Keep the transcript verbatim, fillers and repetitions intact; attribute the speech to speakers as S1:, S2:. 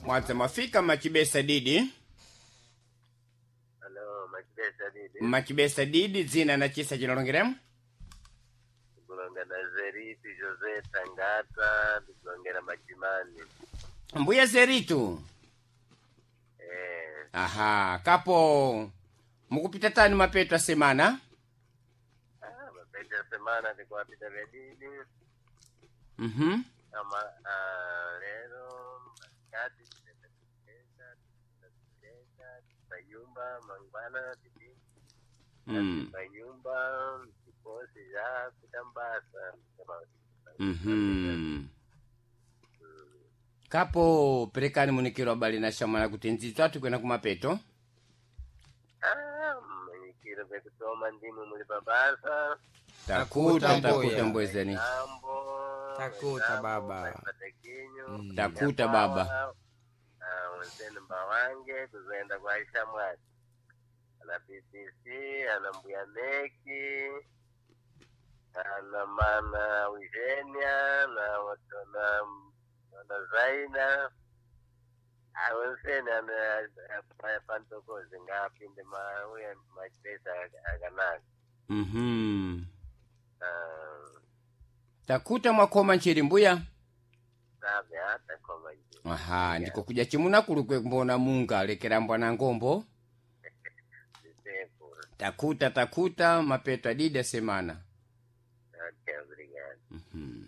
S1: Mwadza mwafika machibesa didi.
S2: Alo, machibesa didi.
S1: Machibesa didi dzina na chisa chinalongeremo.
S2: Ndikulonga na Zeritu Jose Tangata, ndikulongera Machimani.
S1: Mbuya Zeritu.
S2: Eh,
S1: Aha, kapo mukupita tani mapeto a semana.
S2: ah, mapeta semana ndikuwapita vedidi.
S1: Mhm.
S2: Ama ah, lero masikati titenda titenda titayumba mangwana titi
S1: Mm.
S2: panyumba mtikosi ya kutambasa.
S1: Mhm. Kapo perekani munikiro abali na shamwana kuti ndzidzi athu kwena kumapeto.
S2: Ah, manyikiro vekutoma ndimwe muli pabasa.
S1: Takuta
S3: Takuta,
S1: takuta
S3: mbuya.
S1: mbwezeni.
S2: Tambo.
S3: Takuta, baba.
S2: Patakinyo.
S1: Takuta, baba.
S2: Wenzeni mbawange kuzoenda kwa Aisha Mwaki. Ana B B C, ana Mbuya Meki, ana mana Eugenia, na watu na na Zaina. Awenseni ana pantokozi ngapinde mauya machipesa akanaka.
S1: Mhm.
S2: Ah,
S1: Takuta mwakoma nchiri mbuya.
S2: sabe hata koma nje.
S1: Aha, ndiko kuja chimuna kulukwe mbona munga lekera mbwana ngombo.
S2: Ndisepo.
S1: Takuta takuta mapeto adidi a semana.
S2: Ok, obrigado.
S1: Mhm.